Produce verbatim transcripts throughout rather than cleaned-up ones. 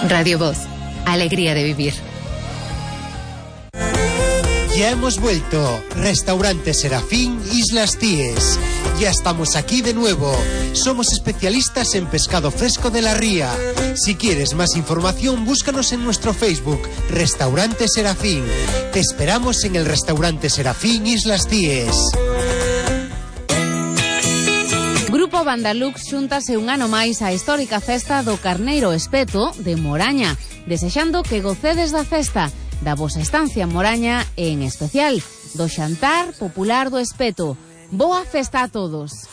Radio Voz, alegría de vivir. Ya hemos vuelto. Restaurante Serafín, Islas Cíes. Ya estamos aquí de nuevo. Somos especialistas en pescado fresco de la ría. Si quieres más información, búscanos en nuestro Facebook, Restaurante Serafín. Te esperamos en el Restaurante Serafín, Islas Cíes. Grupo Bandalux xúntase un ano máis á histórica festa do Carneiro Espeto de Moraña, desexando que gocedes da festa, da vosa estancia en Moraña e, en especial, do xantar popular do espeto. Boa festa a todos.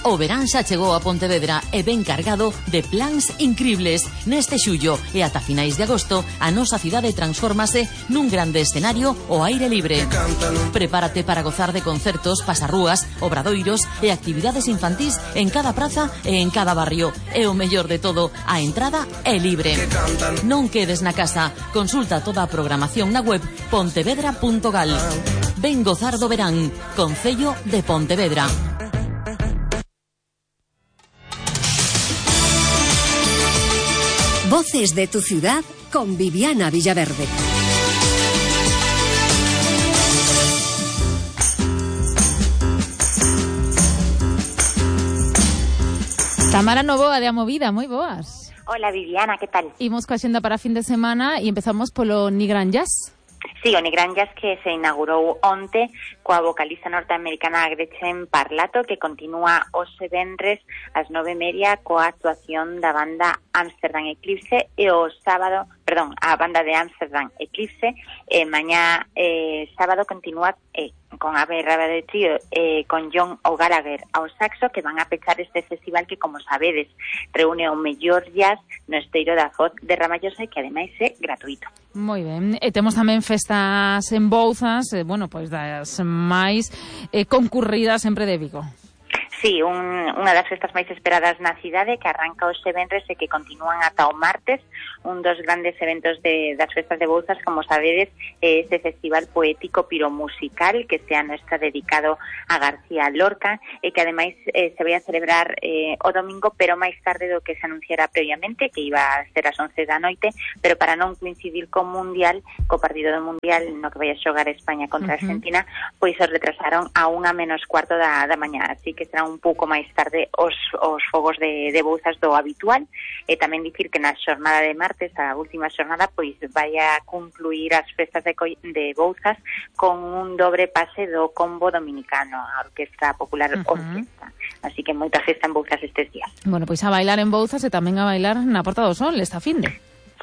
O verán xa chegou a Pontevedra e ben cargado de plans incribles. Neste xullo e ata finais de agosto, a nosa cidade transfórmase nun grande escenario ao aire libre. Prepárate para gozar de concertos, pasarrúas, obradoiros e actividades infantís en cada praza e en cada barrio. E o mellor de todo, a entrada é libre. Non quedes na casa. Consulta toda a programación na web pontevedra punto gal. Ven gozar do verán. Concello de Pontevedra. Voces de tu ciudad con Viviana Villaverde. Tamara Novoa de A Movida, moi boas. Hola Viviana, que tal? Imos coa xenda para fin de semana e empezamos polo Nigran Jazz. Sí, o Nigran Jazz que se inaugurou onte coa vocalista norteamericana Gretchen Parlato, que continúa hoxe venres ás nove e media coa actuación da banda Amsterdam Eclipse e o sábado, perdón, a banda de Amsterdam Eclipse, e mañá eh, sábado continúa eh, con Ave Raba de Trío eh, con John O'Gallagher ao saxo, que van a pechar este festival que, como sabedes, reúne o mellor jazz no esteiro da Foz de Ramallosa e que ademais é gratuito. Moi ben, e temos tamén festas en Bouzas, eh, bueno, pois das máis eh, concurridas sempre de Vigo. Sí, un, unha das festas máis esperadas na cidade, que arranca hoxe venres e que continúan ata o martes, un dos grandes eventos de, das festas de Bouzas, como sabedes, é este festival poético piromusical que este ano está dedicado a García Lorca e que ademais eh, se vai a celebrar eh, o domingo, pero máis tarde do que se anunciara previamente, que iba a ser ás once da noite, pero para non coincidir co Mundial, co partido do Mundial no que vai a xogar España contra uh-huh. Argentina, pois os retrasaron a unha menos cuarto da, da mañá, así que será un pouco máis tarde os, os fogos de, de Bouzas do habitual. E tamén dicir que na xornada de martes, a última xornada, pois vai a concluir as festas de, de Bouzas con un dobre pase do combo dominicano, a Orquestra Popular uh-huh. Orquesta. Así que moita festa en Bouzas estes días. Bueno, pois a bailar en Bouzas e tamén a bailar na Porta do Sol esta finde.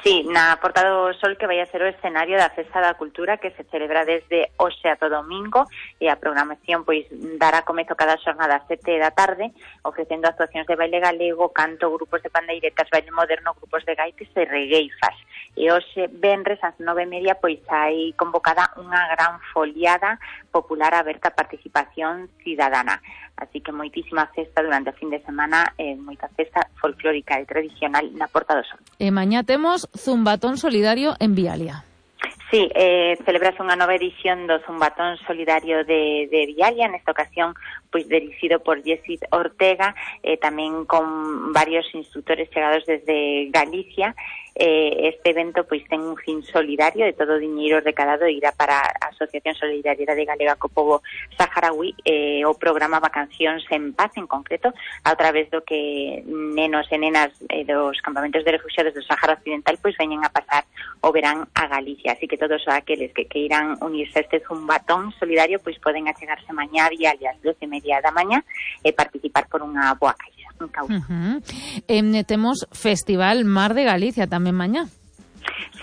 Sí, na Porta do Sol, que vai a ser o escenario da Festa da Cultura, que se celebra desde hoxe ata o domingo, e a programación pois dará comezo cada xornada ás sete da tarde, ofrecendo actuacións de baile galego, canto, grupos de pandeiretas, baile moderno, grupos de gaites e regueifas. E hoxe, venres, ás nove e media, pois hai convocada unha gran foliada popular aberta a participación cidadana. Así que moitísima festa durante o fin de semana, eh, moita festa folclórica e tradicional na Porta do Sol. E mañá temos Zumbatón Solidario en Vialia. Sí, eh, celebrase unha nova edición do Zumbatón Solidario de, de Vialia, nesta ocasión pois dirixido por Jessit Ortega, eh, tamén con varios instructores chegados desde Galicia. Eh, este evento pois ten un fin solidario, de todo o diñeiro recadado irá para a Asociación Solidariedade Galega co Pobo Saharaui, eh, o programa Vacacións en Paz, en concreto, a través do que nenos e nenas eh, dos campamentos de refugiados do Sahara Occidental pois veñen a pasar o verán a Galicia, así que todos aqueles que queiran unirse a este zumbatón solidario pois poden achegarse mañá a Vialia ás doce e media da mañá e participar por unha boa caixa. Uh-huh. Eh, temos Festival Mar de Galicia tamén mañá.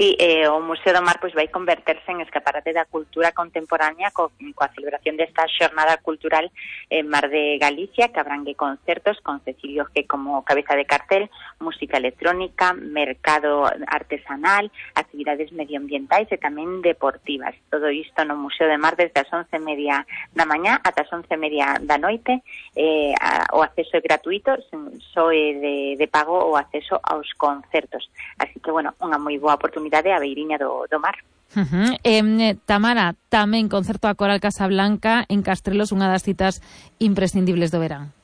Sí, eh, o Museo do Mar pois vai converterse en escaparate da cultura contemporánea co, coa celebración desta xornada cultural en Mar de Galicia, que abrangue concertos con Cecilio G como cabeza de cartel, música electrónica, mercado artesanal, actividades medioambientais e tamén deportivas. Todo isto no Museo do Mar desde as once e media da mañá ata as once e media da noite. Eh, a, o acceso é gratuito, só é de, de pago o acceso aos concertos. Así que, bueno, unha moi boa oportunidade a beiriña do, do mar. Uh-huh. Eh, Tamara, tamén concerto a Coral Casablanca en Castrelos, unha das citas imprescindibles do verán.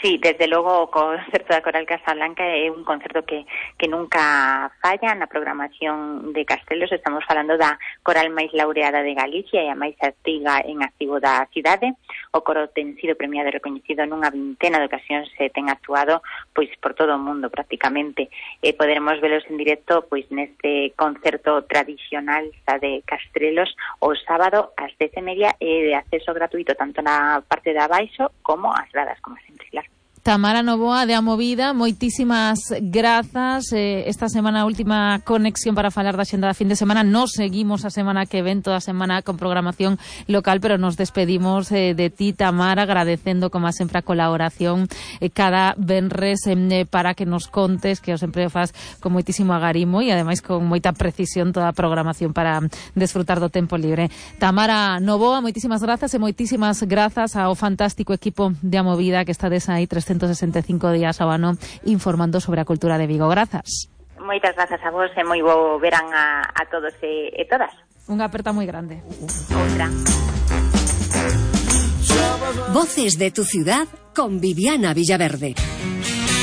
Sí, desde logo o concerto da Coral Casablanca é un concerto que, que nunca falla na programación de Castelos. Estamos falando da coral máis laureada de Galicia e a máis antiga en activo da cidade. O coro ten sido premiado e recoñecido nunha vintena de ocasións e ten actuado pois por todo o mundo prácticamente. E poderemos velos en directo pois neste concerto tradicional xa de Castelos o sábado ás dez e media e de acceso gratuito tanto na parte de abaixo como as gradas, como sempre, claro. Tamara Novoa de A Movida, moitísimas grazas. Eh, esta semana a última conexión para falar da xenda da fin de semana. Nos seguimos a semana que ven, toda a semana con programación local, pero nos despedimos eh, de ti, Tamara, agradecendo como sempre a colaboración eh, cada venres eh, para que nos contes, que o sempre faz con moitísimo agarimo e ademais con moita precisión toda a programación para desfrutar do tempo libre. Tamara Novoa, moitísimas grazas e moitísimas grazas ao fantástico equipo de A Movida que estades aí trescentos sesenta e cinco días ao ano informando sobre a cultura de Vigo. Grazas. Moitas grazas a vos e moi bo verán a, a todos e, e todas. Unha aperta moi grande. Outra. Voces de tu ciudad con Viviana Villaverde.